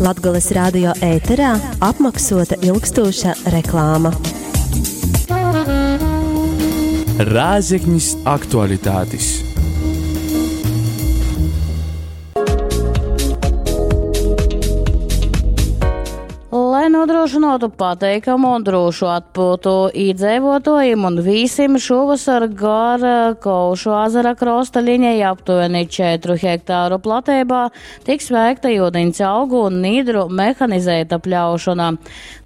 Latgales radio ēterā apmaksota ilgstoša reklāma. Rēzeknis aktualitātes. Lai nodrošinātu pateikamu un drošu atpūtu īdzeivotojiem un vīsim, šovasar gar Kovšu azara krosta liņai aptuveni 4 hektāru platībā tiks veikta jūdiņas augu un nīdru mehanizēta pļaušana.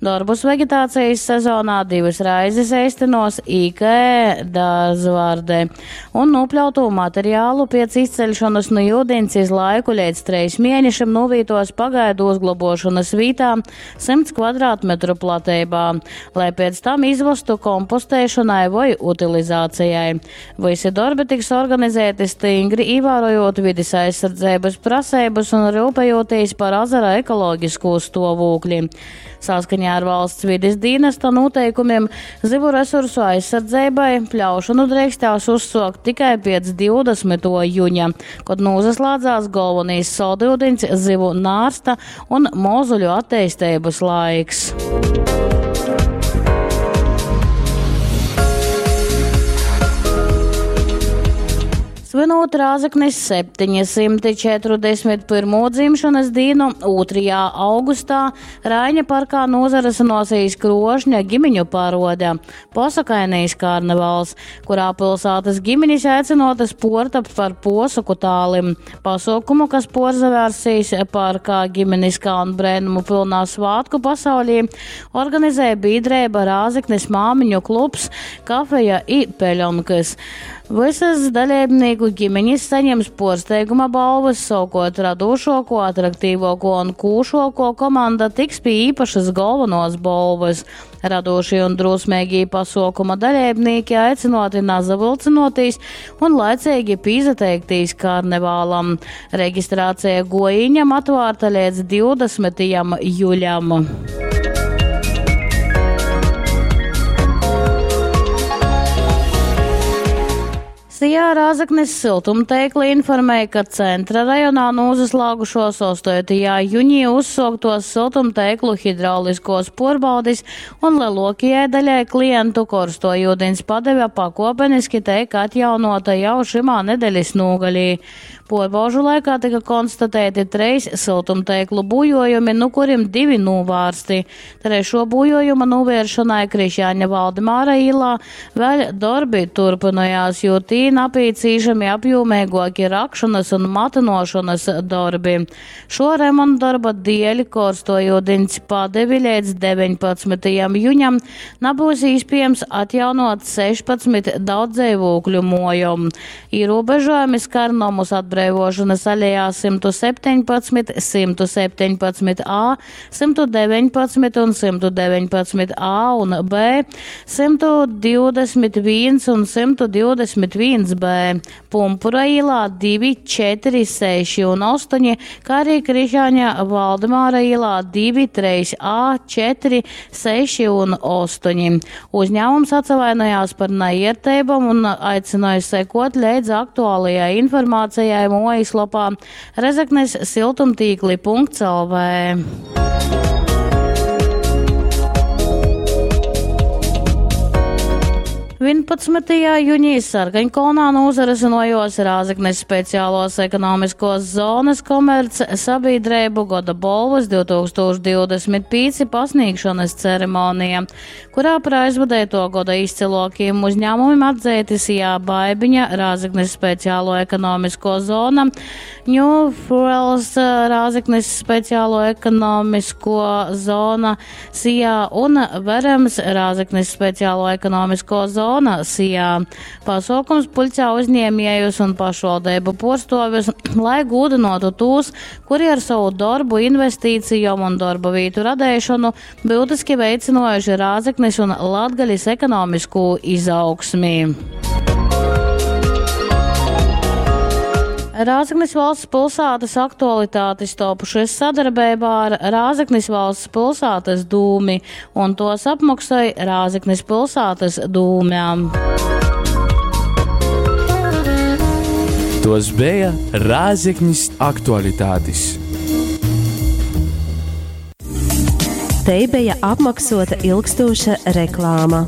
Darbus vegetācijas sezonā divas reizes eistenos IK Dārzvārde un nopļautu materiālu pēc izceļšanas no jūdiņas iz laiku līdz treis mēnešiem novītos pagaidu uzglabošanas vītā 100 kvadrātmetru platībā, lai pēc tam izvestu kompostēšanai vai utilizācijai. Visi darbi tiks organizēti stingri, ievērojot vides aizsardzības prasības un rūpējoties par azara ekoloģisko stāvokli. Saskaņā ar valsts vides dienesta noteikumiem zivu resursu aizsardzībai pļaušanu drīkstās uzsokt tikai pēc 20. juņa, kad nozaslēdzās galvenais saldūdeņs zivu nārsta un mozuļu attīstības laiks. Svinot Rāzaknis 741. dzimšanas dienu 2. augustā Raiņa parkā nozares nosīs krošņa ģimiņu parode Posakainīs karnevāls, kurā pilsētas ģimeņas aicinotas portapt par posaku tālim. Pasaukumu, kas porzavērsīs parkā ģimeniskā un brēnumu pilnā svātku pasaulī, organizēja biedrība Rāzaknis māmiņu klubs, kafeja i peļonkas. Visas dalībnieku ģimeņas saņems porsteiguma balvas, savukārt radošāko, atraktīvāko un kūšāko komanda tiks pie īpašas galvenos balvas. Radošie un drosmīgie pasaukuma dalībnieki aicināti nazavilcinoties un laicīgi pīzateikties karnevālam. Reģistrācija gojiņam atvērta līdz 20. jūlijam. Sijā Rāzaknis siltumteikli informēja, ka centra rajonā nozaslāgušos 8. jūnijā uzsoktos siltumteiklu hidrauliskos porbaudis un lielākajai daļai klientu korsto ūdens padeve pakopeniski teik atjaunota jau šimā nedēļas nogalī. Porbaužu laikā tika konstatēti treis siltumteiklu bujojumi, nu kuriem divi novārsti. Trešo bujojuma novēršanai Krišjāņa Valdemāra īlā vēl darbi turpinājās, jo tī napīcīšami apjūmīgāki rakšanas un matinošanas darbi. Šo remontdarba dēļ korsto ūdens padevi līdz 19. jūņam nebūs iespējams atjaunot 16 daudzdzīvokļu mojom. Ierobežojumi skar nomus atbrīvošanas alejā 117, 117a, 119 un 119a un b, 121 un 121b, Pumpura ielā 2, 4, 6 un 8, kā arī Krišāņa Valdemāra ielā 2, 3a, 4, 6 un 8. Uzņēmums atsavainojās par neiertībām un aicināja sekot līdz aktuālajai informācijai mājaslapā Rezeknes siltumtīkli.lv. 11. jūnijā Sarkaņkolnā nozaresinojos Rāzeknes speciālos ekonomiskos zonas komerc sabiedrību goda bolvas 2025 pasniegšanas ceremonija, kurā par aizvadēto goda izcilākajiem uzņēmumiem atzīti Sijā Baibiņa, Rāzeknes speciālo ekonomisko zona, New Fuels Rāzeknes speciālo ekonomisko zona Sijā un Verems Rāzeknes speciālo ekonomisko zonu Sijā. Pasaukums puļcā uzņēmējus un pašvaldību porstovis, lai gūdinotu tos, kuri ar savu darbu, investīcijām un darba vietu radēšanu būtiski veicinojuši Rāzeknes un Latgaļas ekonomisko izaugsmi. Rāzaknis valsts pilsētas aktualitātes topušas sadarbībā ar Rāzaknis valsts pilsētas dūmi, un tos apmaksāja Rāzaknis pilsētas dūmēm. Tos bija Rāzaknis aktualitātes. Tei beja apmaksota ilgstoša reklāma.